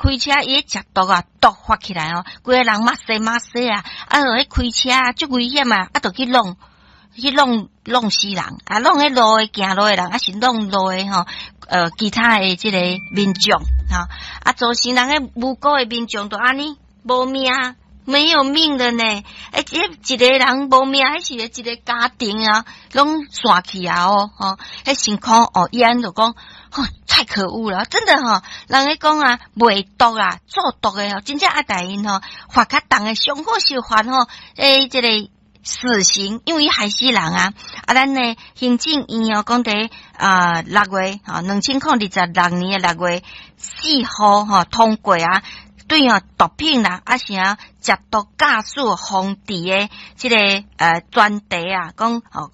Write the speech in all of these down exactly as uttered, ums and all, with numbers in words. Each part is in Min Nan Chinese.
開車伊咧食毒啊，毒發起來哦，規个人目西目西啊，啊，就彼開車足危險啊，啊，就去挵去挵挵死人，啊，挵彼路的行路的人，啊是挵路的吼，呃，其他的這個民眾，吼，啊，造成人彼無辜的民眾就按呢無命，沒有命的呢，欸，這一個人無命，彼是一個家庭啊，攏散去啊哦，吼，彼辛苦哦，伊按就講，吼，太可惡了，真的吼，人咧講啊，賣毒啊，做毒的哦，真正愛共𪜶吼，罰較重的，上好是罰吼，欸，這個死刑，因為害死人啊！啊，咱的行政院哦，講佇啊六月吼，兩千空二十六年的六月四號吼通過啊，對哦毒品啦，啊是啊食毒駕駛防治的這個呃專題啊，講吼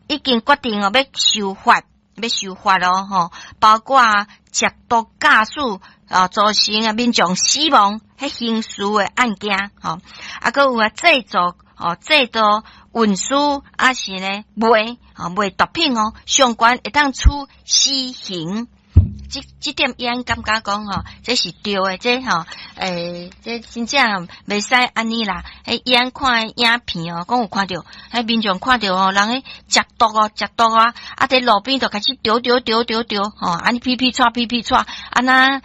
已經決定哦欲修法，欲修法咯吼，包括食毒駕駛啊造成啊民眾死亡彼刑事的案件吼，啊，閣有啊製造。哦，製造、運輸抑是呢賣，哦賣毒品哦，相關會當處死刑。這這點伊按感覺講吼，這是對的，這吼，欸，這真正袂使按呢啦。欸，伊按看影片哦，講有看著，彼民眾看著哦，人咧食毒哦，食毒啊，啊佇路邊就開始丟丟丟丟丟，吼，按呢噼噼掣噼噼掣，啊若啊，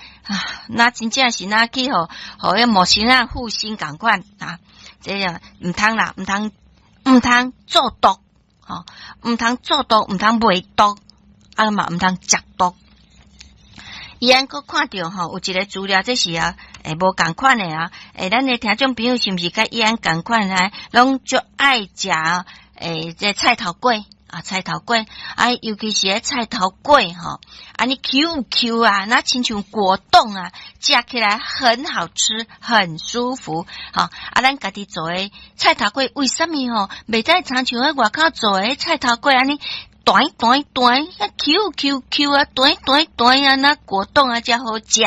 若真正是若去予予彼魔神仔附身仝款啊！這樣毋通啦，毋通毋通做毒，吼，毋通做毒，毋通賣毒，啊嘛毋通食毒。伊按閣看著吼，有一個資料，這是啊，欸，無仝款的啊，欸，咱的聽眾朋友是毋是佮伊按仝款啊？攏足愛食欸，這菜頭粿啊，菜頭粿啊，尤其是彼菜頭粿吼，按呢 Q Q 啊，若親像果凍啊，食起來很好吃，很舒服。吼，啊，咱家己做的菜頭粿，為啥物吼？袂使親像彼外口做的菜頭粿按呢？彈彈彈，Q Q Q 啊，彈彈彈啊，若果凍啊，才好食。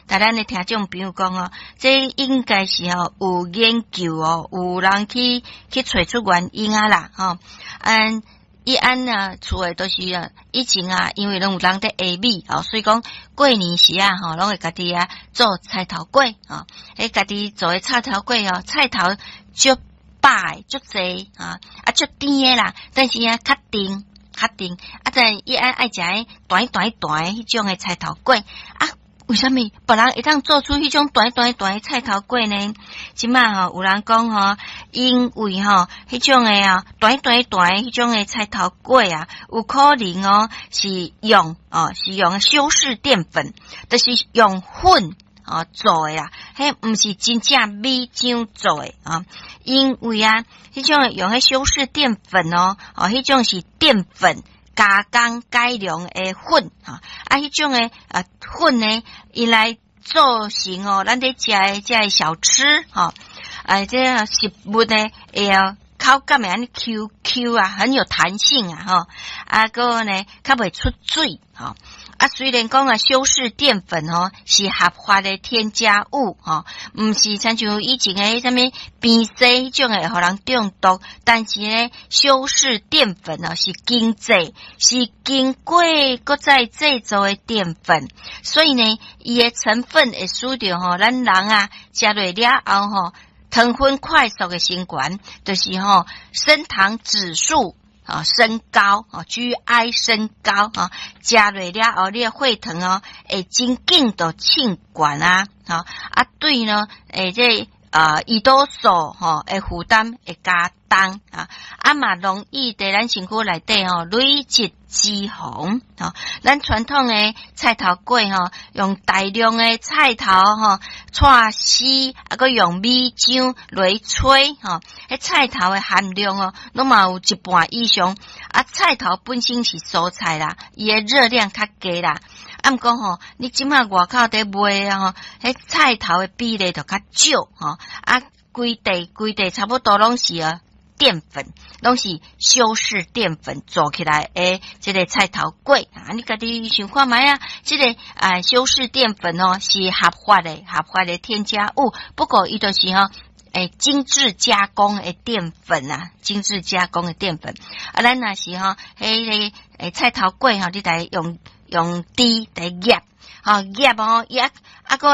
但咱的聽眾朋友講哦，這應該是吼有研究哦，有人去去揣出原因啊啦，吼。嗯，伊按啊厝的都是啊，以前啊，因為攏有人佇下米哦，所以講過年時啊，吼，攏會家己啊做菜頭粿吼，彼家己做的菜頭粿哦，菜頭足飽足濟啊，啊足甜的啦，但是啊較甜。較甜，啊！但伊愛愛食彼彈彈彈彼種的菜頭粿啊？為啥物別人會當做出彼種彈彈彈的菜頭粿呢？這馬吼有人講吼，因為吼彼種的啊彈彈彈彼種的菜頭粿啊，有可能哦是用哦是用修飾澱粉，就是用粉哦做的啦，彼毋是真正米漿做的啊，因為啊，彼種用彼修飾澱粉哦，哦，彼種是澱粉加工改良的粉，哈，啊，彼種的啊粉呢，伊來做成哦，咱佇食的這个小吃，吼，啊，這个食物呢，會口感會按呢 Q Q 啊，很有彈性啊，吼，啊，閣呢，較袂出水，吼。啊，雖然講啊，修飾澱粉吼是合法的添加物，吼，毋是親像以前的啥物邊絲彼種會予人中毒，但是呢，修飾澱粉哦是經製，是經過閣再製造的澱粉，所以呢，伊的成分會使著吼，咱人啊食落了後吼，糖分快速的升懸，就是吼升糖指數。啊，升高啊，G I 升高啊，食落了後，你的血糖哦，會真緊就衝懸啊，啊，對呢，欸，這啊，胰島素吼的負擔會加重啊，啊嘛容易佇咱身軀內底吼累積脂肪吼。咱傳統的菜頭粿吼，用大量的菜頭吼，搓絲，啊，閣用米漿來炊吼，彼菜頭的含量哦，攏嘛有一半以上。啊，菜頭本身是蔬菜啦，伊的熱量較低啦。啊，毋過吼，你這馬外口佇賣吼，彼菜頭的比例就較少吼。啊，規地規地差不多攏是啊澱粉，攏是修飾澱粉做起來的這个菜頭粿啊，你家己想看覓啊？這个啊修飾澱粉哦是合法的，合法的添加物，不過伊就是吼，欸，精緻加工的澱粉啊，精緻加工的澱粉。啊，咱若是吼，彼个欸菜頭粿吼，你來用用豬來醃，吼醃哦，伊啊啊閣。